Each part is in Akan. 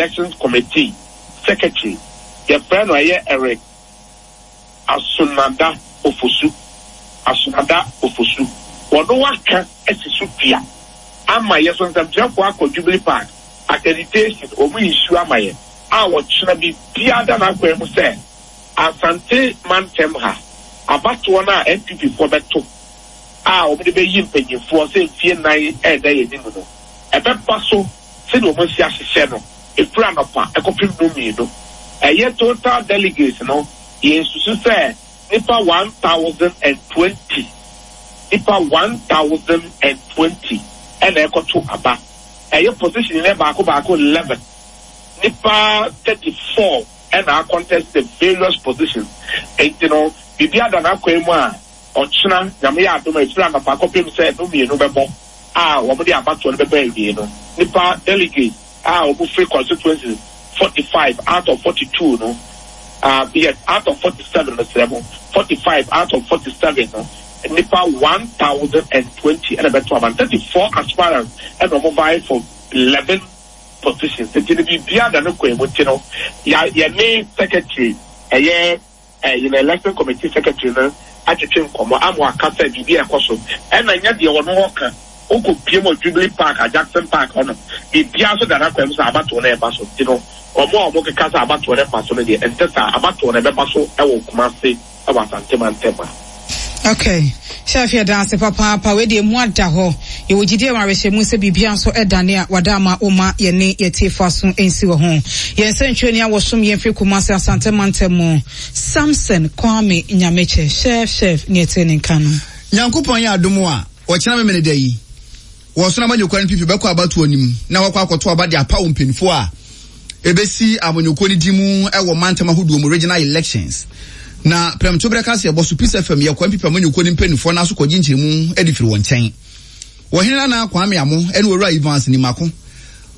Elections Committee Secretary, yɛfrɛ no ɛyɛ Eric Asonada Ofosu, Asonada Ofosu, wɔno aka asi so dua ama yɛ so nsɛmtwerɛfoɔ akɔ Jubilee Park accreditation wɔn issue ama yɛ a wɔkyena biribiara da n'akwan mu sɛ Asante mantam ha abatoɔ no a NPP foɔ bɛto a wɔde bɛyi mpanyinfoɔ sɛ mfie nnan ɛreda yɛn anim no ɛbɛba so sɛdeɛ wɔn asi ahyehyɛ no ɛfiri anɔpa ɛkɔpem nnɔnmienu. Ɛyɛ total delegates no yɛnsusu sɛ nnipa 1,020, nnipa 1,020 ɛna ɛkɔto aba. Ɛyɛ position no baako baako 11, nnipa 34 ɛna a contest the various positions. Enti no biribi ada n'akwan mu a ɔkyena Nyame yɛ adom a ɛfiri anɔpa kɔpem sɛ nnɔnmienu bɛbɔ a wɔde abatoɔ no bɛba awiei no, nnipa delegates a wɔfiri constituencies 45 out of 42 no, uh, yes, out of 47 mesrɛ mo, 45 out of 47 no, nnipa 1,020 ɛna bɛto aba no, 34 aspirants ɛna wɔn vie for 11 positions, nti no biribiara da no kwan mu, nti no yɛ yɛne secretary ɛyɛ Yɛn Election Committee Secretary no atwetwe nkɔmmɔ ama waka sɛ biribi a ɛkɔ so ɛna nyɛ deɛ ɔno ɔka. Wokɔ pie mu wɔ Jubilee Park a Jackson Park hɔ nom, biribiara nso da n'akwan mu sɛ abatoɔ no ɛreba so. Nti no, wɔn a wɔkeka sɛ abatoɔ no mma so no deɛ, ɛnte saa. Abatoɔ no ɛbɛba so wɔ Kumasi wɔ Asante mantam ha. Okay. Chef yɛda ase papaapa. Wei deɛ emu ada hɔ. Yɛwɔ gyidie wɔ awerɛhyɛmu sɛ biribiara nso ɛdane a wada ama woma yɛne yɛtiefo aso nsi wɔ ho. Yɛn nsɛntwerɛni a wɔsom yɛn firi Kumasi Asante mantam mu, Samson Kwame Nyamekyɛ. Chef, chef, ne ɛte ne nka no. Nyankopɔn yɛ adom a, ɔkyena Memeneda yi, wɔ Ɔsono Amanyɔkuo NPP bɛkɔ abatoɔ no mu na wɔakɔ akɔto aba de apaw mpanyinfoɔ a ɛbɛsi amanyɔkuo no din mu wɔ mantam ahodoɔ mu, regional elections. Na prɛmtoberɛ kaseɛbɔ so, Peace FM yɛkɔ NPP amanyɔkuo no mpanyinfoɔ no aso kɔgye nkyerɛmu de firi wɔn nkyɛn. Ɔhene Nana Kwame Amo ne Owura Evans Nimako,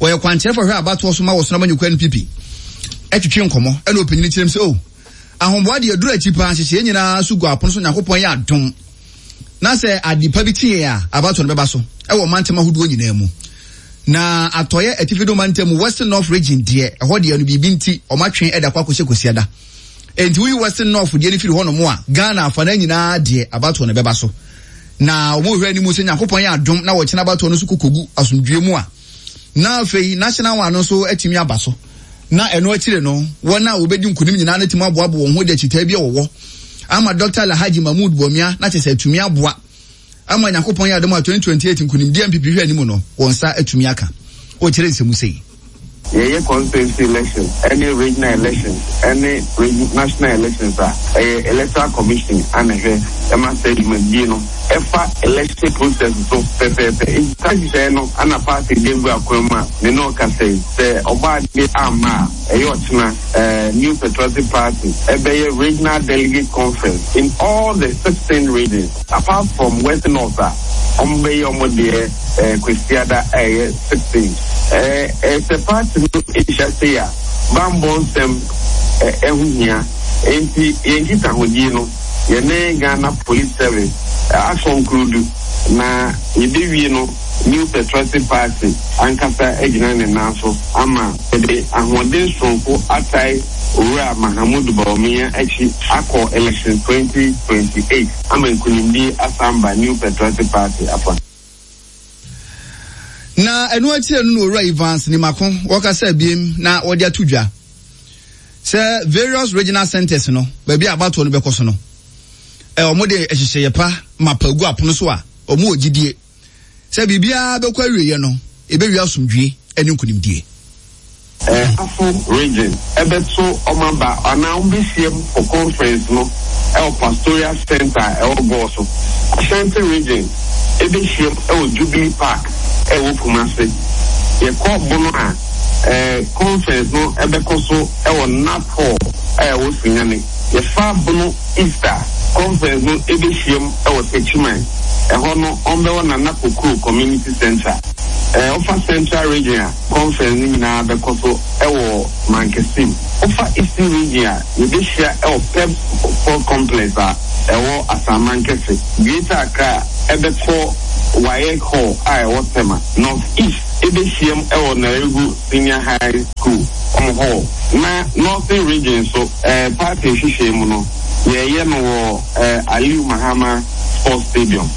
wɔyɛ kwankyerɛfoɔ hwɛ abatoɔ so ma wɔ Ɔsono Amanyɔkuo NPP, twetwe nkɔmmɔ ɛna ɔpanyini kyerɛm sɛ, oh, ahoboa deɛ aduru akyi paa, nhyehyɛeɛ nyinaa so gu apono so, Nyankopɔn yɛ adom na sɛ ade pa bi kye yɛn a, abatoɔ no bɛba so wɔ mantam ahodoɔ nyinaa mu. Na atɔeɛ atifi do mantam mu, Western North Region deɛ, ɛhɔ deɛ no biribi nti, wɔatwe de akɔ akɔhyɛ Kwasiada. Enti woyi Western North deɛ no firi hɔnom a, Ghana afanan nyinaa deɛ abatoɔ no bɛba so. Na wɔhwɛ anim sɛ Nyankopɔn yɛ adom na wɔkyena abatoɔ no so kɔkɔgu asomdwoeɛ mu a, na afei National one no nso atumi aba so. Na ɛno akyire no, wɔn a wɔbɛdi nkonim nyinaa no atumi aboaboa wɔn ho de akyitaa bi a wɔwɔ ama Dɔkta Alhaji Mahmood Bawumia na kyerɛ sɛ atumi aboa ama Nyankopɔn yɛ adom a 2028 nkonimdi a NPP hwɛ anim no, wɔn nsa atumi aka. Ɔkyerɛ nsɛm mu sei. Yɛyɛ constituency elections ɛne regional elections ɛne national elections a, ɛyɛ Electoral Commission a na ɛhwɛ ɛma saa dwumadie no ɛfa election process so pɛpɛɛpɛ. Nti saa nhyehyɛeɛ no na party de agu akwan mu a me ne wo kasa yi. Sɛ Ɔbɔadeɛ amma a, ɛyɛ ɔkyena New Patriotic Party ɛbɛyɛ regional delegate conference in all the 16 regions apart from West North a wɔbɛyɛ wɔn deɛ Kwasiada a ɛyɛ 16. Sɛ party no hyia sei a, bammɔ nsɛm ho hia. Enti yɛn nkitahodie no, yɛne Ghana Police Service akɔnkludu na yɛbɛwie no New Patriotic Party ankasa agyina ne nan so ama yɛde ahoɔden soronko atae Owura Mahamudu Bawumia akyi akɔ election 2028 ama nkunimdie asan ba New Patriotic Party afa. Na ɛno akyire no na Owura Evans Nimako wɔkasa abiem na wɔde ato dwa sɛ various regional centers no baabi a abatoɔ no bɛkɔ so no wɔn de nhyehyɛeɛ pa mapa gu apono so a wɔn wɔ gyidie sɛ biribiara bɛkɔ awieeɛ no ɛbɛwie asomdwie ne nkonimdie. Afo Region bɛto wɔn aba anaa wɔbɛhyiam for conference no wɔ Pastoral Centre a ɛwɔ Goaso. Ashanti Region bɛhyiam wɔ Jubilee Park a ɛwɔ Kumasi. Yɛkɔ Bono a, conference no bɛkɔ so wɔ Nat Hall a ɛwɔ Sunyani. Yɛfa Bono East a, conference no bɛhyiam wɔ Techiman. Ɛhɔ no, wɔbɛwɔ Nana Kokro Community Centre. Wofa Central Region a, Conference no nyinaa bɛkɔ so wɔ Mankesim. Wofa Eastern Region a, yɛbɛhyia wɔ Pep Sport Complex a ɛwɔ Asaman Kɛse. Greater Accra bɛkɔ WAEC Hall a ɛwɔ Tema. North East. bɛhyiam wɔ Nalerigu Senior High School wɔn hall. Na Northern Region nso, party nhyehyɛe mu no, yɛreyɛ no wɔ Aliu Mahama Sports Stadium.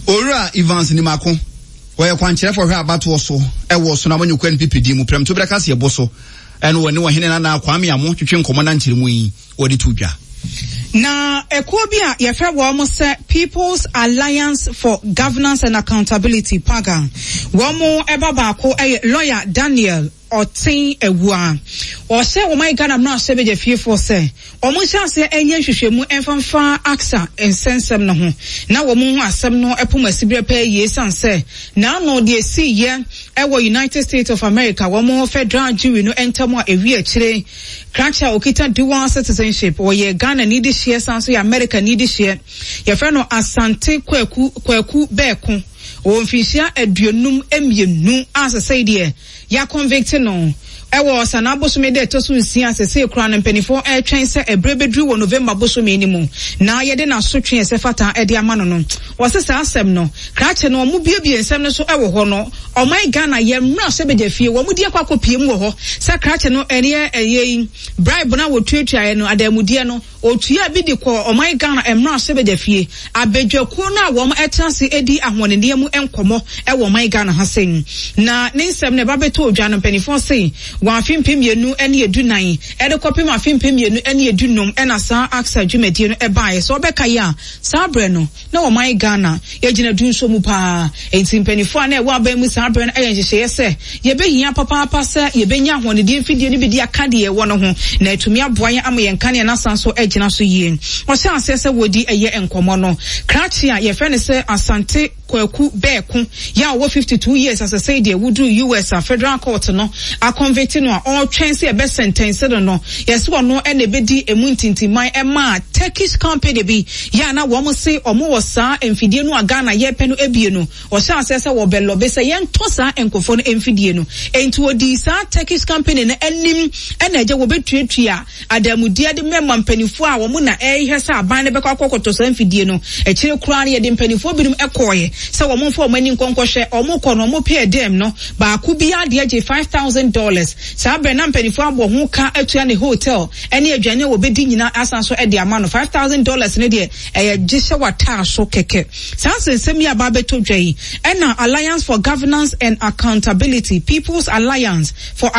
Owura Evans Nimako, ɔyɛ kwankyerɛfo ɔhwɛ abatoɔ so wɔ Ɔsono Amanyɔkuo NPP din mu prɛmtoberɛ kaseɛbɔ so ɛna ɔne ɔhene Nana Kwame Amo twetwe nkɔmmɔ na nkyerɛmu yi wɔde to dwa. Na ekuo bi a yɛfrɛ wɔn sɛ People's Alliance for Governance and Accountability, PAGA, wɔn ba baako yɛ lɔya Daniel Ɔten Awuah. Ɔhyɛ ɔman Ghana mmarahyɛbadwafiefoɔ sɛ wɔn nhyɛ aseɛ nyɛ nhwehwɛmu mfa mfa ACSA nsɛnsɛm no ho na wɔn nhu asɛm no pom asiberɛ pɛɛ yie esiane sɛ n'ano deɛ esiiɛ wɔ United States of America wɔn federal jury no ntam a ɛwie akyire krakye a ɔkita dual citizenship ɔyɛ Ghana ni dehyeɛ san nso yɛ America ni dehyeɛ yɛfrɛ no Asante Kwaku Kwaku Bɛɛko ɔwɔ mfinhyia 52 a sesei deɛ Yɛaconvicte no wɔ Ɔsanaa bosome da ɛtɔ so nsia a sesei koraa no mpaninfoɔ retwɛn sɛ ɛberɛ bɛduru wɔ November bosome no mu na yɛde n'asotwe a ɛsɛ fata de ama no no. Wɔse saa asɛm no, krakye no wɔn buebue nsɛm no so wɔ hɔ no, ɔman Ghana yɛn mmarahyɛbadwa fie wɔn de akɔ akɔpie mu wɔ hɔ sɛ krakye no ɛneɛ ɛyɛ yi bribe no a wɔtuatuaeɛ no adanmudeɛ no Ɔtuaa bi de kɔɔ ɔman Ghana mmarahyɛbadwafie, abadwakuo no a wɔn tena ase di ahoɔdenneɛ mu nkɔmmɔ wɔ ɔman Ghana ha sei. Na ne nsɛm no ɛba bɛtɔɔ dwa no mpaninfoɔ se wɔ afe 2014 de kɔpem afe 2015 na saa ACSA dwumadie no baeɛ. Sɛ wobɛkae a saa berɛ no na ɔman Ghana yɛgyina dunso mu paa. Enti mpaninfoɔ a na ɛwɔ aban mu saa berɛ no ayɛ nhyehyɛeɛ sɛ yɛbɛhia papaapa sɛ yɛbɛnya ahoɔdendeɛ mfidie no bi de aka deɛ yɛwɔ no ho na atumi aboa yɛn ama yɛn nkanea no asan so agyina so yie. Wɔhyɛɛ aseɛ sɛ wɔredi ɛyɛ nkɔmmɔ no, krakye a yɛfrɛ no sɛ Asante Kwaku Bɛɛko yɛ a ɔwɔ 52 years asesei deɛ woduru US a federal court no akɔnvete no a ɔretwɛn sɛ yɛbɛsɛntɛnse no no, yɛse ɔno na ɛbɛdi ɛmu ntintimman ɛmaa Turkish company bi yɛ a na wɔn se wɔn wɔ saa mfidie no a Ghana yɛpɛ no abie no, wɔhyɛ aseɛ sɛ wɔbɛ lɔbe sɛ yɛntɔ saa nkurɔfoɔ no mfidie no. Enti wɔdii saa Turkish company no anim ɛna agya wɔbɛtuatua adanmudeɛ de mɛma mpaninfoɔ a wɔn na ɛrehwɛ sɛ aban no bɛkɔ akɔkɔtɔ saa mfidie no. Akyire koraa no yɛde mpaninfoɔ binom kɔɔɛ sɛ wɔn mfa wɔn ani nkɔ nkɔhwɛ. Wɔn kɔ no wɔn pɛɛ dɛm no baako biara deɛ gye $5,000. Saa berɛ na mpaninfoɔ abɔ ho ka atua ne hotel ne aduane a wɔbɛdi nyinaa asan so de ama no. $5,000 no deɛ ɛyɛ gye hyɛ w'ataa so kɛkɛ. Saa nsɛnsɛm yi a aba abɛtɔ dwa yi ɛna Alliance for Governance and Accountability, People's Alliance for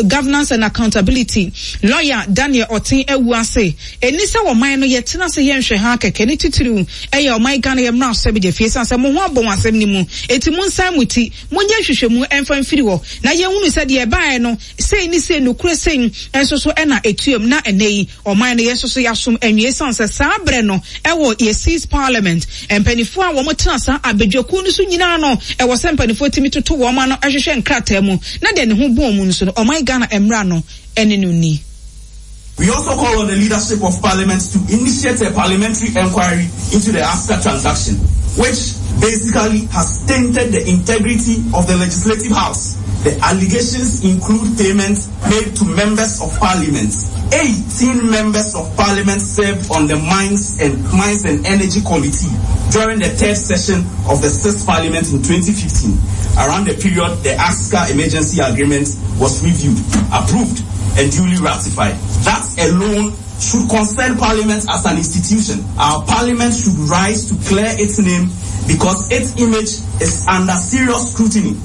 Governance and Accountability, Lɔya Daniel Ɔten awu ase. Ɛnni sɛ ɔman no yɛtena ase yɛ nhwɛhaa kɛkɛ, ne titiriw ɛyɛ ɔman Ghana yɛ mmarahyɛbadwafie ɛsiane sɛ mo ho abɔ wɔ asɛm no mu enti monsan mo ti monyɛ nhwehwɛmu mfa mfiri hɔ na yɛnhunu sɛ deɛ ɛbaeɛ no sei ne sei nokorɛ sei nso so na ɛtuam na ɛnnɛ yi ɔman no yɛn nso so yɛasom anwie ɛsiane sɛ saa berɛ no ɛwɔ yɛ sixth parliament mpaninfoɔ a wɔn tena saa abadwakuo no so nyinaa no ɛwɔ sɛ mpaninfoɔ tumi toto wɔn ano hwehwɛ nkrataa mu na deɛ ne ho bɔn mu nso no ɔman Ghana mmra no ɛne no nni. We also call on the leadership of parliament to initiate a parliamentary inquiry into the ASCA transaction, which basically has tainted the integrity of the legislative house. The allegations include payments made to members of parliament. 18 members of parliament served on the Mines and, Mines and Energy Committee during the third session of the sixth parliament in 2015, around the period the ASCA emergency agreement was reviewed, approved, and duly ratified. That alone should concern Parliament as an institution. Our Parliament should rise to clear its name because its image is under serious scrutiny.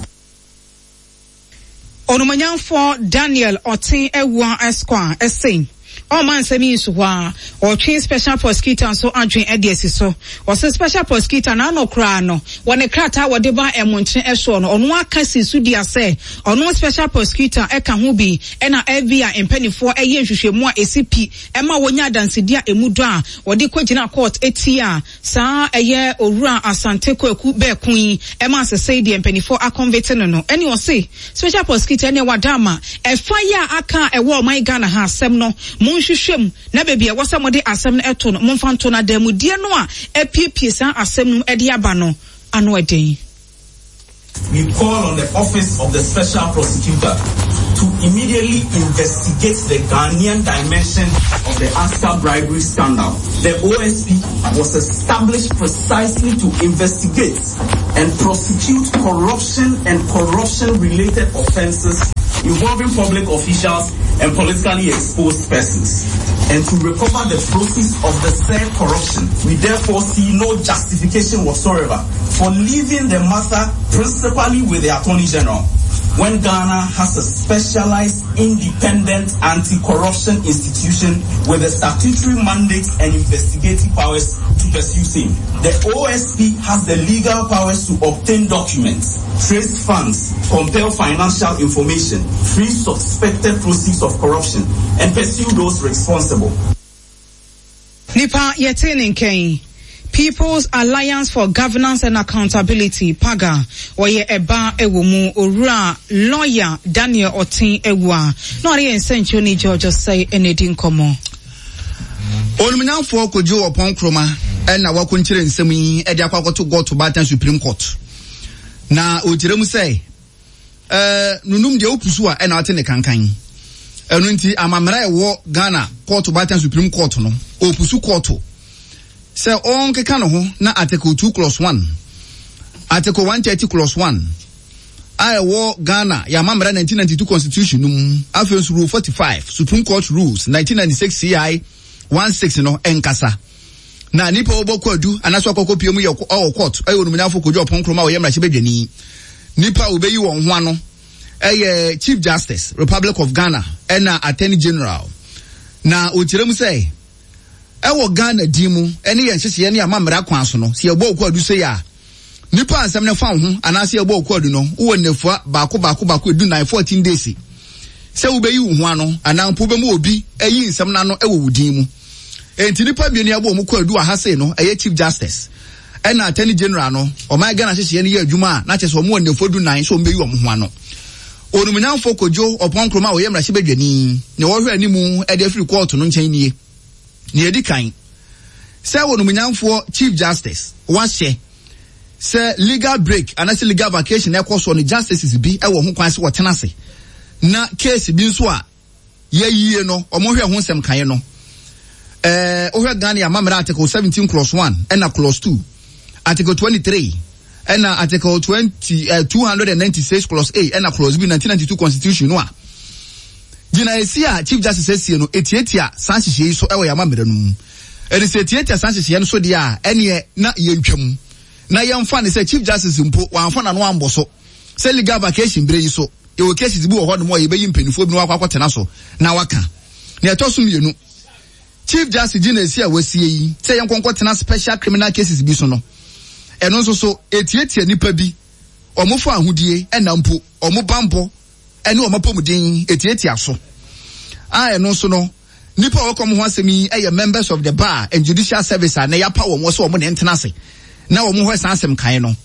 Onumonyamfoɔ Daniel Ɔten Awuah Esquire se ɔmma nsɛm yi nsu hɔ ara, ɔretwe Special Prosecutor nso adwene de asi so. Ɔse Special Prosecutor n'ano koraa no, wɔ ne krataa a wɔde baa mmontene soɔ no, ɔno ara ka sii so dua sɛ ɔno Special Prosecutor ka ho bi na FBI mpaninfoɔ yɛ nhwehwɛmu a ɛsi pi ma wɔnya adansedie a ɛmu dɔ a wɔde kɔgyina court tia Saa ɛyɛ Owura Asante Kwaku Bɛɛko yi ɛma sesei deɛ mpaninfoɔ akɔnvete no no ɛne ɔse Special Prosecutor ɛneɛ wada ama ɛfa yi a aka a ɛwɔ ɔman Ghana ha asɛm no monhwehwɛ mu na baabi a ɛwɔ sɛ mode asɛm no ɛto no momfa nto no adanmudeɛ no a apiepie saa asɛm no mu ɛde aba no ano ɛden. We call on the office of the special prosecutor. to immediately investigate the Ghanaian dimension of the ASCA bribery scandal. The OSP was established precisely to investigate and prosecute corruption and corruption-related offenses involving public officials and politically exposed persons, and to recover the proceeds of the said corruption. We therefore see no justification whatsoever for leaving the matter principally with the Attorney General when Ghana has a specialized independent anti-corruption institution with the statutory mandate and investigative powers to pursue same. The OSP has the legal powers to obtain documents, trace funds, compel financial information, freeze suspected proceeds of corruption, and pursue those responsible. Nipa yɛtee ne nka yi, People's Alliance for Governance and Accountability, PAGA, ɔyɛ ɛba wɔ mu, Owura Lawyer Daniel Ɔten Awuah, na ɔne yɛn nsɛnkyerɛwni George Osei na edi nkɔmmɔ. Onimnyamfoɔ Kojo Oppong Nkrumah na wakonkyere nsɛm yi de akɔ akɔto Goto Baatan Supreme Court. Na ɔkyerɛ mu sɛ, Ɛɛ nunum deɛ wopu so a ɛna ate ne kankan. Ɛno nti amammerɛ a ɛwɔ Ghana kɔɔto baatan Supreme Court no, ɔpu so kɔɔto sɛ ɔnkeka ne ho na Article 2 clause 1, Article 130 clause 1 a ɛwɔ Ghana yɛ amammerɛ 1992 Constitution no mu, afei nso Rule 45 Supreme Court Rules 1996 CI 16 no nkasa. Na nnipa a wɔbɔ kwaadu anaasɛ wɔakɔkɔ pie mu yɛ wɔ court ɛyɛ onimonyamfo Kojo Oppong Nkrumah a ɔyɛ mmarahyɛbadwani. Nnipa a wɔbɛyi wɔn ho ano ɛyɛ Chief Justice Republic of Ghana ɛna Attorney General. Na ɔkyerɛ mu sɛ ɛwɔ Ghana din mu ɛne yɛn nhyehyɛeɛ ne amammerɛ akwan so no, sɛ yɛbɔ kwaadu sei a, nipa a nsɛm no fa wo ho anaasɛ yɛbɔ wo kwaadu no, wowɔ nnafua baako baako baako edunan, 14 days, sɛ wobɛyi wo ho ano anaa mpo wobɛma obi ayi nsɛm no ano wɔ wo din mu. Enti nipa mmienu yɛabɔ wɔn kwaadu wɔ ha sei no, ɛyɛ Chief Justice ɛna Attorney General no, ɔman Ghana nhyehyɛeɛ no yɛ adwuma a na kyerɛ sɛ wɔn wɔ nnafua dunan sɛ wɔbɛyi wɔn ho ano. Onimnyamfo Kojo Oppong Nkrumah a ɔyɛ mmarahyɛbadwani, nea ɔhwɛ anim de afiri kɔɔto no nkyɛn nie. Nea edi kan, sɛ onimnyamfoɔ Chief Justice wahyɛ sɛ legal break anaasɛ legal vacation ɛkɔ soɔ no justices bi wɔ ho kwan sɛ wɔtena ase na case bi nso a yɛayie no wɔhwɛ ho nsɛm kaeɛ no. Ɛɛ wohwɛ Ghana amammerɛ article 17 clause 1 ɛna clause 2, article 23 ɛna article 20 eh, 296 clause A ɛna clause B 1992 constitution no a gyinaesi a chief justice asie no etiatia saa nhyehyɛe yi so ɛwɔ yɛn amammerɛ no mu. Ɛde sɛ etiatia saa nhyehyɛe no so deɛ a ɛneɛ na yɛntwam na yɛmfa ne sɛ chief justice mpo wamfa n'ano ambɔ so sɛ legal vacation bere yi so yɛwɔ cases bi wɔ hɔ nom a yɛbɛyi mpanimfoɔ bi na wakɔ akɔtena so na waka. Nea ɛtɔ so mmienu, Chief Justice gyinaesi a wasie yi sɛ yɛnkɔ nkɔtena special criminal cases bi so no, ɛno nso so ɛtiatia nnipa bi, wɔn fa ahodie ɛna mpo wɔn bammɔ ɛne wɔn apɔmuden ɛtiatia so. A ɛno nso no, nnipa a wɔka wɔn ho asɛm yi yɛ members of the bar and judicial service a na yɛapa wɔn sɛ wɔn na ɛntena ase na wɔn hɔ saa asɛm kan no.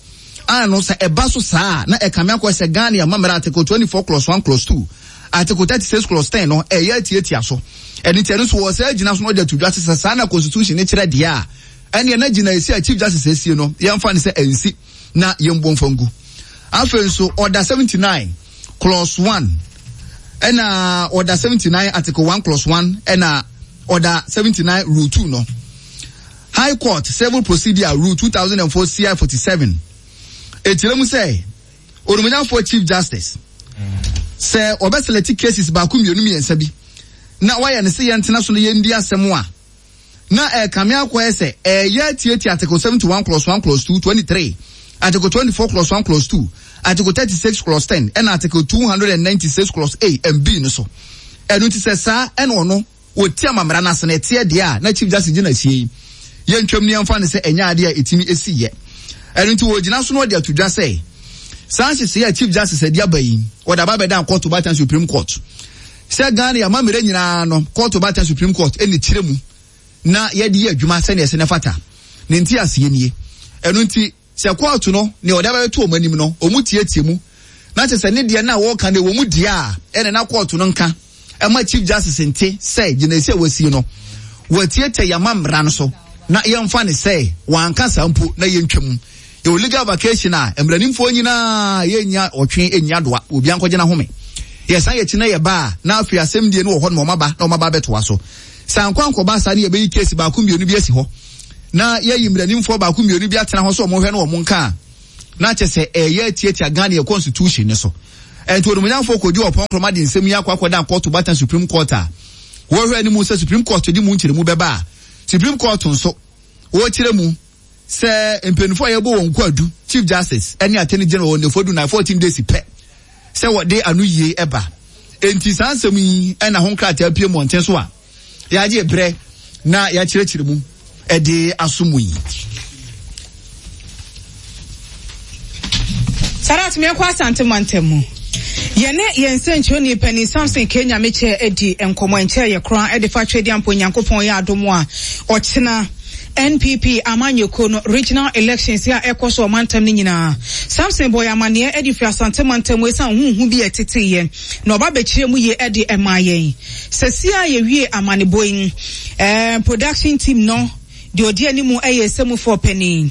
A no sɛ ɛba so saa a na ɛkame akɔ sɛ Ghana amammerɛ Article 24 clause 1 clause 2 Article 36 clause 10 no ɛyɛ atiatia so. Ɛno nti ɛno nso wɔ saa gyina so na ɔde ato dwa sɛ saa na constitution no kyerɛ deɛ a ɛneɛ na gyina esi a Chief Justice asie no yɛmfa no sɛ ɛnsi na yɛmbu mfa ngu. Afei nso Order 79 clause 1 ɛna Order 79 Article 1 clause 1 ɛna Order 79 Rule 2 no High Court Civil Procedure Rule 2004 CI 47 ɛkyerɛ mu sɛ Onimonyamfoɔ Chief Justice sɛ wɔbɛ select cases baako mmienu mmiɛnsa bi na wayɛ no sɛ yɛntena so na yɛndi asɛm a na ɛkame akɔyɛ sɛ ɛyɛ atiatia Article 71 clause 1 clause 2, 23, Article 24 clause 1 clause 2, Article 36 clause 10 ɛna Article 296 clause A and B no so. Ɛno nti sɛ saa ɛna ɔno Wɔti amammara no ase no ɛteɛ deɛ a na Chief Justice gyina asie yi, yɛntwam no yɛmfa no sɛ ɛnyɛ adeɛ a ɛtumi si yɛ. Ɛno nti wɔgyina so na wɔde ato dwa sɛ saa nhyehyɛeɛ a Chief Justice adi aba yi, wɔde aba abɛdan kɔɔto baatan Supreme Court. Sɛ Ghana yɛ amammerɛ nyinaa no, kɔɔto baatan Supreme Court ɛna kyerɛ mu na yɛde yɛ adwuma sɛdeɛ ɛsɛ na ɛfata. Ne nteaseɛ nie. Ɛno nti Sɛ kɔɔto no, nea ɔde abɛto wɔn anim no, wɔtiatia mu, na kyerɛ sɛ ne deɛ no a wɔreka no ɛwɔ mu deɛ a, ɛnna na kɔɔto no nka mma Chief Justice nte sɛ gyinaesi a wasie no, watiatia yɛn amammara no so, na yɛmfa no sɛ wanka saa mpo na yɛntwa mu. Yɛwɔ legal vacation a mmaranimfoɔ nyinaa yɛnnya ɔtwe nni adoa, obiara nkɔgye n'ahome. Yɛsan yɛkyi na yɛba a, na afei asɛm die no wɔ hɔ na wɔn aba na wɔn aba abɛtoa so. Sɛ ankɔ ankɔba saa ne yɛbɛyi case baako mmienu bi asi hɔ na yɛayi mmaranimfoɔ baako mmienu bi atena hɔ sɛ wɔn hwɛ na wɔn nka a, na kyɛ sɛ ɛyɛ atiatia Ghana yɛ constitution no so. Ɛnti onimonyamfoɔ Kojo Oppong Nkrumah de nsɛm yi akɔ akɔdan kɔɔto batan Supreme Court a wɔhwɛ anim sɛ Supreme Court de mu nkyerɛmu bɛba a Supreme Court nso wɔkyerɛ mu sɛ mpanyinfoɔ a yɛbɔ wɔn kwaadu, Chief Justice ne Attorney General wɔ nnafua du nan, 14 days pɛ sɛ wɔde ano yie ba. Enti saa nsɛm yi na ho nkrataa pue mmɔnten so a yɛagye berɛ na yɛakyerɛkyerɛ mu de aso mu yi. Sadat meɛkɔ Asante mantam mu. Yɛne yɛn nsɛnkyerɛwni panin Samson K. Nyamekyɛ adi nkɔmmɔ ɛnkyɛɛ yɛ koraa de fa Twedeampo Nyankopɔn yɛ adom a ɔkyena NPP amanyɔkuo no regional elections a ɛkɔ so ɔmantam no nyinaa. Samson bɔɔ yɛn amaneɛ de firi Asante mantam mu ɛsiane huhu bi a ɛteteeɛ na ɔba bɛkyerɛ mu yie de maa yɛn. Sɛsi a yɛwie amanebɔ yi, eh, production team no Deɛ ɔdi anim yɛ Esemufoɔ panin,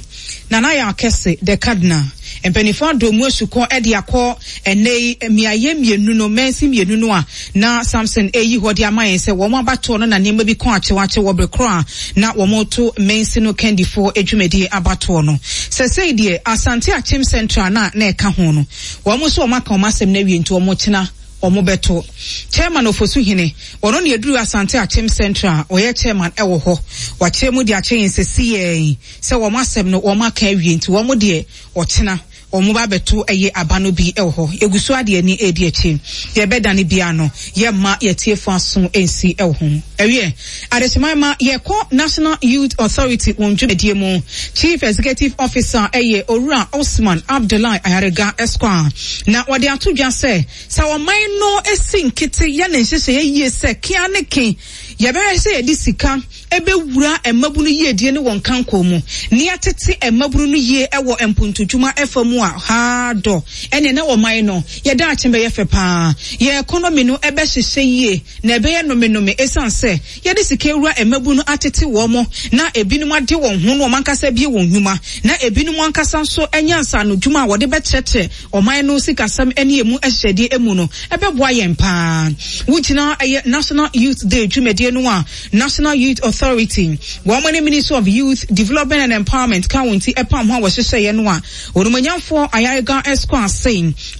Nana Yaw Kɛse, the Cardinal. Mpanimfoɔ adɔ mu asukɔ de akɔ ɛnnɛ yi mmeaeɛ mmienu no, mansin mmienu no a na Samson reyi hɔ de ama yɛn sɛ wɔn abatoɔ no na nneɛma bi kɔ akyewakye wɔ bere korɔ a na wɔreto mansin no kandifoɔ dwumadie abatoɔ no. Sɛsɛi deɛ Asante Akyem Central no a na ɛka ho no, wɔn nso wɔn aka wɔn asɛm no awie nti wɔn kyena wɔn bɛto. Chairman Ofosu Hene, ɔno na ɛduru Asante Akyem Central a ɔyɛ chairman wɔ hɔ. Wakyerɛ mu de akyerɛ yɛn sɛsiyɛɛ sɛ wɔn asɛm no wɔn aka awie nti wɔn deɛ ɔkyena wɔn ba abɛto ɛyɛ aba no bi wɔ hɔ. Yɛgu so ara de yɛn ani redi akyire. Deɛ ɛbɛdane biara no yɛmma yɛn atiefoɔ aso nsi wɔ ho. Ɛwiɛ, Adehyeman ma yɛkɔ National Youth Authority wɔn dwumadie mu. Chief Executive Officer yɛ Owura Osman Abdullahi Ayariga Esquire na wɔde ato dwa sɛ, Sɛ ɔman no si nkete yɛ ne nhyehyɛeɛ yie sɛ ke ara ne ke yɛbɛhwɛ sɛ yɛde sika bɛwura mmabunu yiedie ne wɔn kankɔ mu na yɛatete mmabunu no yie wɔ mpontodwuma fa mu a, haa dɔ, ɛneɛ na ɔman no yɛ daakye bɛyɛ fɛ pa ara. Yɛn economy no bɛhyehyɛ yie na ɛbɛyɛ nomenome ɛsiane sɛ yɛde sika awura mmabunu atete wɔn na ebinom ade wɔn ho na wɔn ankasa abue wɔn nnwuma na ebinom ankasa nso anya nsaanodwuma a wɔde bɛkyerɛkyerɛ Ɔman no sikasɛm ne emu ahyehyɛdeɛ mu no, ɛbɛboa yɛn pa ara. Wogyina ɛyɛ National Youth Day dwumadie no a National Youth Authority, wɔn ne Ministry of Youth Development and Empowerment ka wɔn ti pam ho a wɔhyehyɛeɛ no a Onumonyamfoɔ Ayariga Esquire se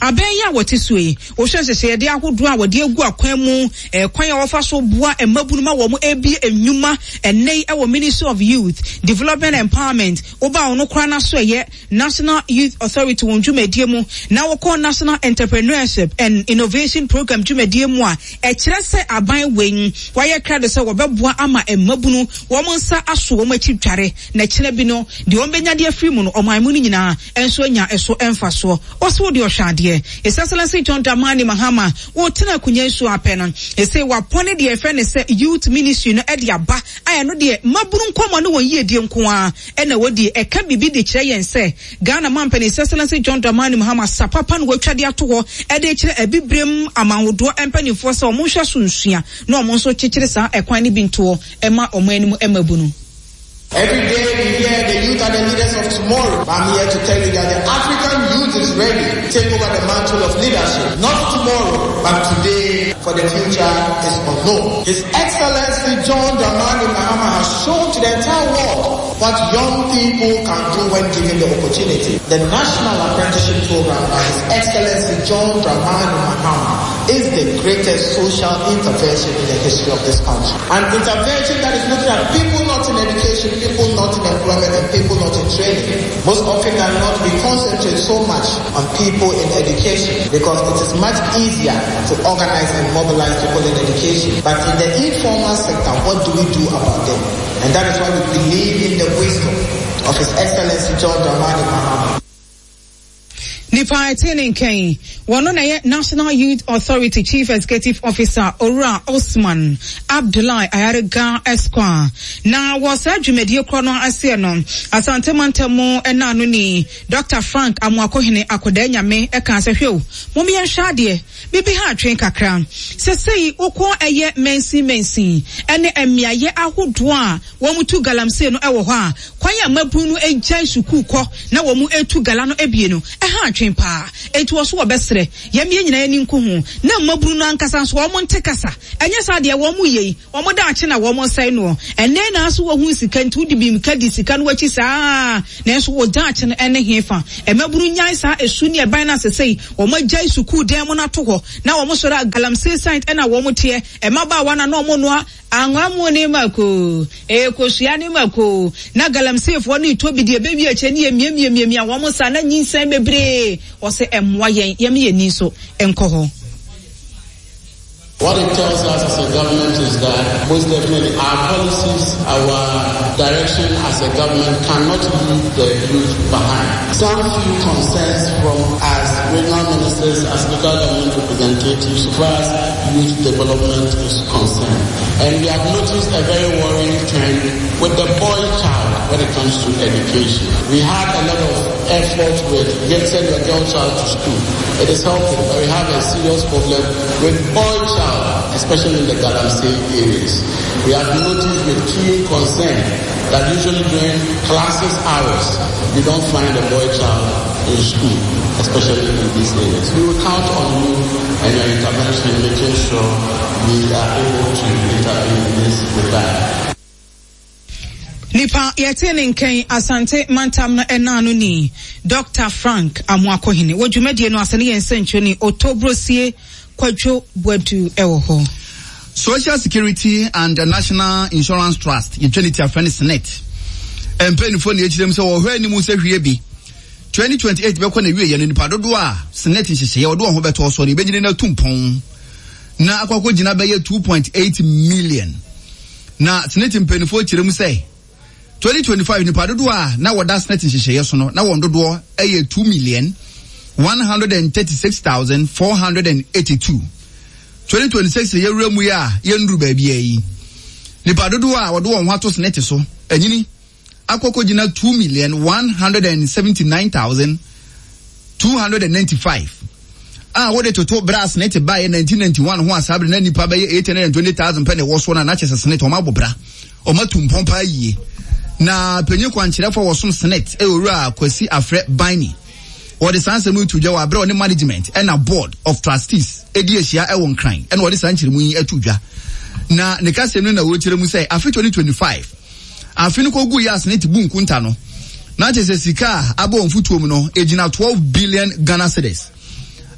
abɛn yi a wɔte soɔ yi, wohwɛ nhyehyɛeɛdeɛ ahodoɔ a wɔde agu akwan mu, kwan a wɔfa so boa mmabunu ma wɔn ɛrebue nnwuma ɛnnɛ yi wɔ Ministry of Youth Development and Empowerment, woba wɔn koraa no aso ɛyɛ National Youth Authority wɔn dwumadie mu na wɔkɔ National Entrepreneurship and Innovation Programme dwumadie mu a, ɛkyerɛ sɛ aban wei wɔayɛ krado sɛ wɔbɛboa ama mmabunu wɔn nsa aso wɔn akyi dware na kyena bi no deɛ wɔn bɛnya de afiri mu no ɔman mu no nyinaa nso anya ɛso mfasoɔ. Ɔse wo deɛ ɔhwɛ adeɛ. His Excellency John Dramani Mahama ɔretena akonwa yi so ara pɛ no, ɛsei wapɔne deɛ yɛfrɛ no sɛ Youth Ministry no de aba a ɛno deɛ mmabunu nkɔmmɔ ne wɔn yiedie nko ara na wɔdie. Ɛka biribi de kyerɛ yɛn sɛ Ghana Mampanin His Excellency John Dramani Mahama sa papa na watwa de ato hɔ de rekyerɛ Abibirem amanhodoɔ mpanimfoɔ sɛ wɔn nhwɛ so nsua na wɔn nso kyekyere saa ɛkwan no bi ntoɔ ma wɔn anim mmabunu. Every day we hear the youth are the leaders of tomorrow, but I'm here to tell you that the African youth is ready to take over the mantle of leadership. Not tomorrow, but today, for the future is unknown. His Excellency John Dramani Mahama has shown to the entire world what young people can do when given the opportunity. The National Apprenticeship Program by His Excellency John Dramani Mahama is the greatest social intervention in the history of this country. An intervention that is looking at people not in education, people not in employment, and people not in training. Most often than not, we concentrate so much on people in education because it is much easier to organize and mobilize people in education. But in the informal sector, what do we do about them? And that is why we believe in the wisdom of His Excellency John Dramani Mahama. Nipa a ɛte ne nka yi, wɔno na ɛyɛ National Youth Authority Chief Executive Officer Owura Osman Abdullahi Ayariga Esquire. Na wɔ saa dwumadie korɔ no aseɛ no, Asante mantam mu naanoni Dɔkta Frank Amoakohene Akwadaa Nyame kaa sɛ, Hwɛ o, mom yɛnhwɛ adeɛ, biribi ha atwen kakra. Sesei wokɔ ɛyɛ mansin mansin ne mmeaeɛ ahodoɔ a Wɔtu galamsey no wɔ hɔ a, kwan a mmabun no gyae sukuu kɔ na wɔtu gala no abie no, ɛha adwene. asotwe paa. Enti wɔ so wɔbɛsrɛ yɛn yɛn nyinaa ani nku ho na mmabunu no ankasa nso wɔn nte kasa. Ɛnyɛ saa deɛ wɔn yɛ yi, wɔn daakye na wɔn resɛe noɔ. Ɛnnɛ na so wɔhu sika nti wode bi ka di sika no akyi saa nanso wo daakye no ɛne hefa? Mmabunu nyae saa esu ne ɛban no asesei wɔn agyae sukuu dan mu no ato hɔ na wɔn sɔre a galamsey site ɛna wɔn teɛ. Mmabaawa no a na wɔn noa Anwa mu ne mako, kosua ne mako, na galamseyfoɔ no retɔ bi deɛ ɛbɛwie akyire ne yɛmiamiamiamia wɔn saa na nyinsɛn bebree. Ɔsɛ ɛmmoa yɛn, yɛma yɛn ani nso nkɔ hɔ. What it tells us as a government is that most definitely our policies, our direction as a government cannot leave the youth behind. Some few concerns from us regional ministers, as local government representatives, so far as youth development is concerned. And we have noticed a very worrying trend with the boy child when it comes to education. We had a lot of effort with getting your girl child to school. It is helping, but we have a serious problem with boy child, especially in the Galamsey areas. We have noticed with keen concern that usually during classes hours, you don't find a boy child in school, especially in these areas. We will count on you and your intervention in making sure we are able to intervene in this regard. Nipa yɛtee ne nkɛn Asante mantam no ɛna ano ni Dr. Frank Amoakohene wɔ dwumadie no ase ne yɛn nsɛnkyerɛni Otobrosie Kwadwo Boadu wɔ hɔ. Social Security and National Insurance Trust, yɛtwa ne ti afrɛ no SSNIT, mpanyinfoɔ na ɛkyerɛ mu sɛ wɔhwɛ anim sɛ hwie bi 2028 bɛkɔ na wieɛ no nipa dodoɔ a SSNIT nhyehyɛeɛ wɔde wɔn ho bɛtɔ soɔ no yɛbɛnyini no atu mpɔn na akɔ akɔgyina bɛyɛ 2.8 million. Na SSNIT mpanyinfoɔ kyerɛ mu sɛ 2025 nipa dodoɔ a na wɔda SSNIT nhyehyɛeɛ so no na wɔn dodoɔ yɛ 2,136,482. 2026 yɛwura mu yi a yɛnnuru baabiara yi, nipa dodoɔ a wɔde wɔn ho ato SSNIT so anyini akɔkɔgyina 2,179,295 a wode toto berɛ a SSNIT baeɛ 1991 ho a saa berɛ na nnipa bɛyɛ 820,000 pɛ na ɛwɔ soɔ no a na kyerɛ sɛ SSNIT wɔn abɔ bra. Wɔatu mpɔn paa yie. Na panyin kwankyerɛfo a wɔsom Senate yɛ Owura Kwasi Afrɛ Baini. Wɔde saa nsɛm yi to dwa wɔ abere a ɔne management ɛna board of trustees edi ahyia ɛwɔ Nkran ɛna wɔde saa nkyerɛmu yi ato dwa. Na ne kasɛm no na wɔkyerɛ mu sɛ afe 2025 afe no kɔgu yɛ a Senate bu nkunta no na kyerɛ sɛ sika a aba wɔn fotuo mu no egyina 12 billion Ghana cedis.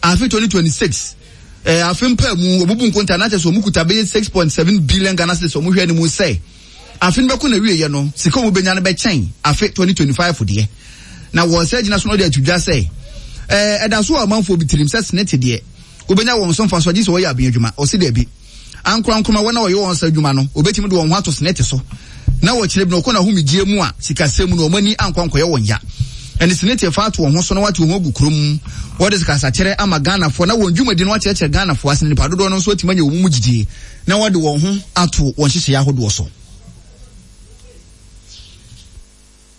Afe 2026 Eh, afe mpaa mu, wɔbubu nkontaa na kyerɛ sɛ wɔn kuta bɛyɛ 6.7 billion Ghana cedis wɔn hwɛ anim sɛ afe no bɛkɔ n'awieɛ no, sika wɔn bɛnya no bɛkyɛn afe 2025 deɛ. Na wɔn sɛ gyina so no de ato dwa sɛ, eh, ɛda so wɔ amanfoɔ bi tirim sɛ senete deɛ, wobɛnya wɔn so mfasoɔ gye sɛ wɔyɛ abɛn adwuma. Ɔse daabi. Ankorankoroma wɔn a wɔyɛ wɔn sa adwuma no, wɔbɛtumi de wɔn ho ato senete so na wɔkyerɛ bi na wɔkɔ n'ahomegyeɛ mu a sikasɛm mu no wɔn ani ankɔ ankɔyɛ wɔn ya. Ɛne senete fa ato wɔn ho so na wɔate wɔn ho agu kurom. Wɔde sikasakyerɛ ama Ghanafoɔ na wɔn dwumadi no akyerɛkyerɛ Ghanafoɔ ase na nipa dodoɔ no nso atumi anya wɔn mu gyidie na wɔde wɔn ho ato wɔn nhyehyɛeɛ ahodoɔ so.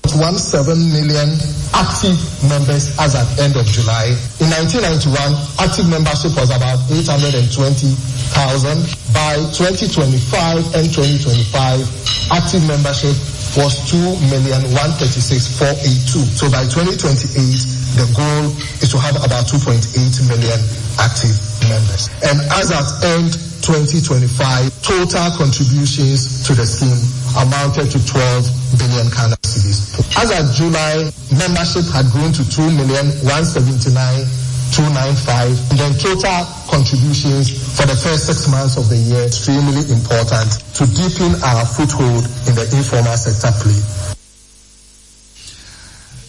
17 million active members as at end of July. In 1991, active membership was about 820,000. By 2025 and 2025, active membership was 2,136,482. So by 2028, the goal is to have about 2.8 million active members. And as at end 2025, total contributions to the scheme amounted to 12 billion Ghana cedis. As at July, membership had grown to 2,179,295. And then total contributions for the first six months of the year extremely important to deepen our foothold in the informal sector play.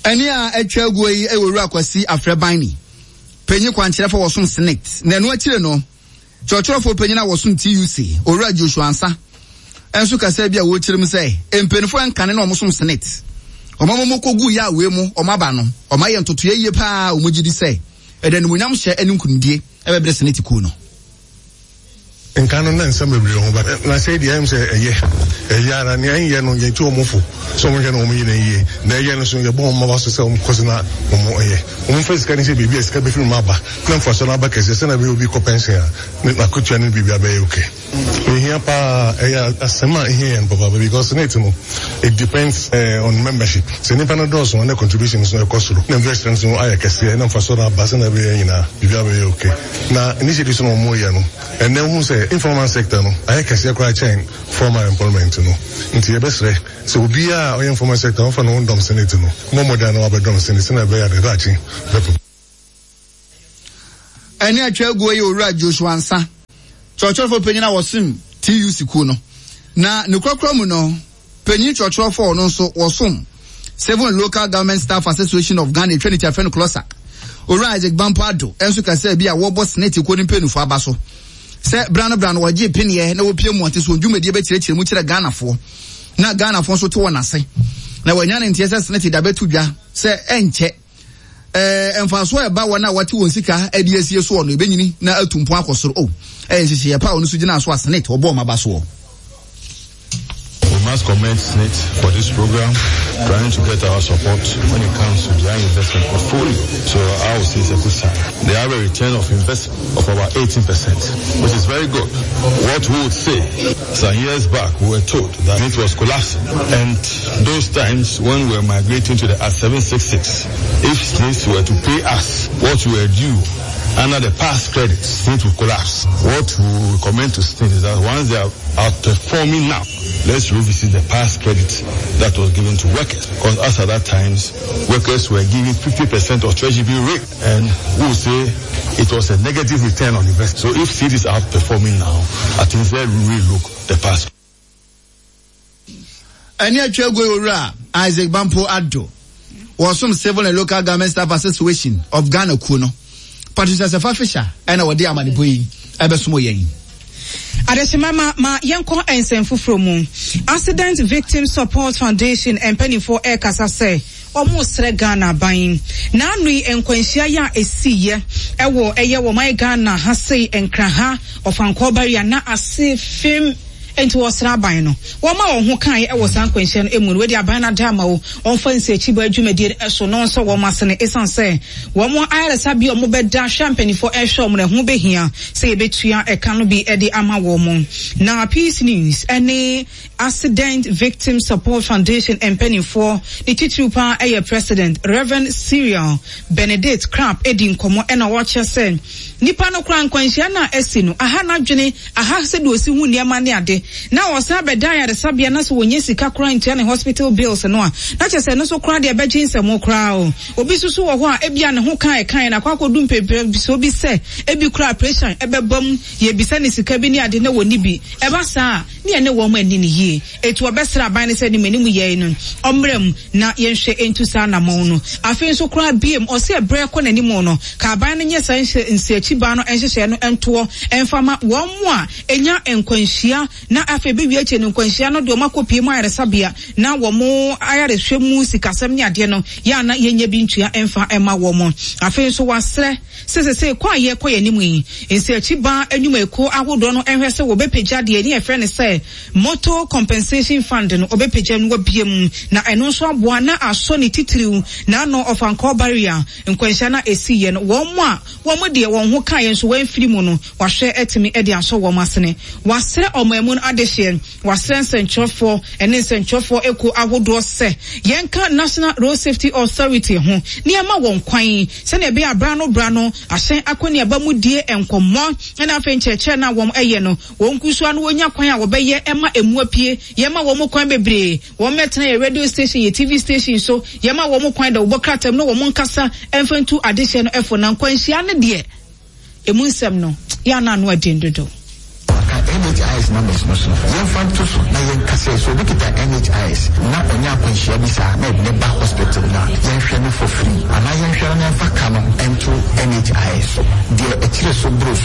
Ɛne a atwa aguo yi wɔ Owura Kwasi Afrɛ-Banni, panyin kwankyerɛfo a wɔsom Senate, na ɛno akyire no, Kyerɛkyerɛfoɔ panyin a wɔsom TUC, Owura Joshua Ansah, nso kasaa bi a wɔkyerɛ mu sɛ mpanyinfoɔ nkane na wɔsom Senate, wɔn a wɔkɔgu yɛ a wei mu wɔn aba no, wɔn ayɛ ntotoeɛ yie paa a wɔn gye di sɛ ɛde animuonyam hyɛ ne nkunimdie ɛbɛbrɛ Senate kuo no. Nka no na nsɛm bebree wɔ ho but na sɛi deɛ ɛyɛ me sɛ ɛyɛ ɛyɛ ara nea ɛnyɛ no yɛtu wɔn fo sɛ wɔn hwɛ na wɔn yɛ no yie na ɛyɛ no so yɛbɔ wɔn mmaba so sɛ wɔn kɔ so na wɔn yɛ wɔn mfa sika no sɛ biribi a sika bɛfiri mu aba na mfasoɔ no aba kɛseɛ sɛnea ɛbɛyɛ obi kɔ pɛnsen a ne n'akotua ne biribi abɛyɛ okay. Ehia paa, ɛyɛ asɛm a ehia yɛn papaapa because SSNIT no it depends on membership. Sɛ nnipa no dɔɔso a na contribution nso ɛkɔ soro na investment nso ayɛ kɛseɛ na mfasoɔ no aba sɛnea ɛbɛyɛ nyinaa biribiara bɛyɛ okay. Na initiatives no a wɔyɛ no ɛnnɛ wohu sɛ informal sector no ayɛ kɛseɛ koraa kyɛn formal employment no nti yɛbɛsrɛ sɛ obiara a ɔyɛ informal sector ɔmfa ne ho ndɔm SSNIT no mmɔ mmɔden na wabɛdɔm SSNIT sɛnea ɛbɛyɛ a ne daakye bɛpem. Ɛne atwa aguo yɛ Owura Joshua Ansah, kyerɛkyerɛfoɔ panyin a wɔsom TUC kuo no. Na ne korakora mu no, panyin kyerɛkyerɛfoɔ a ɔno nso wɔsom Seven Local Government Staff Association of Ghana etwa ne ti afrɛ no CLOSAG, Owura Isaac Bampo Addo nso kasaa bi a wɔbɔ Senate kuo no mpanyinfoɔ aba so sɛ bra no bra no wɔgye peneɛ na wɔpie mmɔnten so wɔn dwumadie bɛkyerɛkyerɛ mu kyerɛ Ghanafoɔ na Ghanafoɔ nso te wɔn ase na wɔanya ne nteɛ sɛ Senate da bɛto dwa sɛ ɛnkyɛ Ɛɛ, mfaso a ɛba wɔn a wɔate wɔn sika de asie soɔ no, ɛbɛnyini na atu mpɔn akɔ soro. O, ɛyɛ nhyehyɛeɛ pa a ɔno nso gyinaa so a Senate wɔbɔɔ wɔn aba soɔ. We must commend SSNIT for this program, trying to get our support when it comes to their investment portfolio. So I would say it's a good sign. They have a return of investment of about 18%, which is very good. What we would say, some years back, we were told that it was collapsing. And those times when we were migrating to the Act 766, if SSNIT were to pay us what we were due under the past credit, SSNIT would collapse. What we recommend to SSNIT is that once they are outperforming now, let's revisit the past credit that was given to workers. Because as at that times, workers were given 50% of treasury bill rate. And we will say it was a negative return on investment. So if SSNIT is outperforming now, I think they relook the past. Ɛne atwa aguo yi Owura Isaac Bampo Addo, wɔsom Civil and Local Government Staff Association of Ghana kuo no. Patricia Sefa Fisher ɛna wɔde amanebɔ yi ɛbɛsom yɛn. Adehyema ma ma yɛnkɔ nsɛm foforɔ mu. Accident Victim Support Foundation mpanimfoɔ ɛrekasa sɛ wɔresrɛ Ghana aban. N'ano yi nkwanhyia yi a ɛsiiɛ ɛwɔ ɛyɛ wɔn Ghana ha sei Nkran ha Ɔfankɔɔ Barrier na ase fem Enti wɔsrɛ aban no wɔma wɔn ho kaeɛ wɔ saa nkwanhyia no mu no, wei deɛ aban no ada ama wo, wɔmfa nsiakyibaa dwumadie no so na wɔnsɔ wɔn asene ɛsiane sɛ wɔn ayaresabea a wɔbɛda hwɛ a mpanimfoɔ rehwɛ wɔn no ɛho bɛhia sɛ yɛbɛtua ɛka no bi de ama wɔn. Na Peace News ne Accident Victim Support Foundation mpanimfoɔ ne titiriw paa ɛyɛ President Rev. Cyril Benedict Crap di nkɔmmɔ ɛna wɔkyerɛ sɛ Nipa no koraa nkwanhyia no a asi no aha n'adwene, aha sɛdeɛ ɔsi hu nneɛma ne ade, na ɔsan bɛda ayaresabea na sɛ ɔnnya sika koraa ntua ne hospital bills no a, na kyerɛ sɛ ɛno nso koraa deɛ ɛbɛgye nsɛmo koraa o. Obi nso so wɔ hɔ a, ebia ne ho ka a ɛkaeɛ no akɔ akɔdu mpɛmpɛnsoɔ bi sɛ ebi koraa operation ɛbɛba mu, yɛrebisa no sika bi ne ade na ɔnni bi. Ɛba saa a, ne yɛne wɔn anni no yie. Enti wɔbɛsrɛ aban no sɛ anim anim yɛe no, ɔmmra mu na yɛnhwɛ ntu saa anammɔn no. Afei nso koraa biom, ɔse ɛberɛ rekɔ n'anim no, ka aban no nyɛ saa nsiakyibaa no nhyehyɛeɛ no ntoɔ mfa ma wɔn a ɛnya nkwanhyia na afei bɛwie akyire no nkwanhyia no de wɔn akɔpie mu ayaresabea na wɔn ayarehwɛ mu sikasɛm ne adeɛ no yɛ a na yɛnyɛ bi ntua mfa mma wɔn. Afei nso wasrɛ sɛ sesei kɔ a yɛrekɔ yɛn anim yi, nsiakyibaa nnwumakuo ahodoɔ no nhwɛ sɛ wɔbɛpagya deɛ ne yɛfrɛ no sɛ Motor Compensation Fund no ɔbɛpagya no abue mu na ɛno nso aboa na asɔ ne titiriw n'ano ɔfankɔɔ barrier nkwanhyia no a ɛsiiɛ no wɔn a wɔn deɛ wɔn ho kaeɛ nso wɔamfiri mu no wahwɛ atumi de asɔ wɔn asene. Wasrɛ ɔman mu no adehyeɛ, wasrɛ nsɛntwerɛfoɔ ne nsɛntwerɛfoɔ akuo ahodoɔ sɛ yɛnka National Road Safety Authority ho na yɛma wɔn kwan sɛdeɛ ɛbɛyɛ a berɛ ano berɛ ano ahyɛn akɔneaba mu die nkɔmmɔ ne afei nkyerɛkyerɛ no a wɔyɛ no Wɔn nkusuwa no wɔnya kwan a wɔbɛyɛ ma ɛmu apue. Yɛma wɔn kwan bebree. Wɔn mmɛtena yɛn radio station, yɛn TV station so. Yɛma wɔn kwan dɛ wɔbɔ krataa mu na wɔn nkasa mfa ntu adehyeɛ no fo. Na nkwanhyia no deɛ, ɛmu nsɛm no, yɛ a na ano ɛden dodo. Ka NHIS numbers no so. Yɛmfa nto so na yɛnka sɛ, sɛ obi kita NHIS na ɔnya akwanhyia bi saa na yɛde no ba hospital no a, yɛnhwɛ no for free anaa yɛnhwɛ no na yɛmfa ka no nto NHIS so. Deɛ ɛkyere so boro so.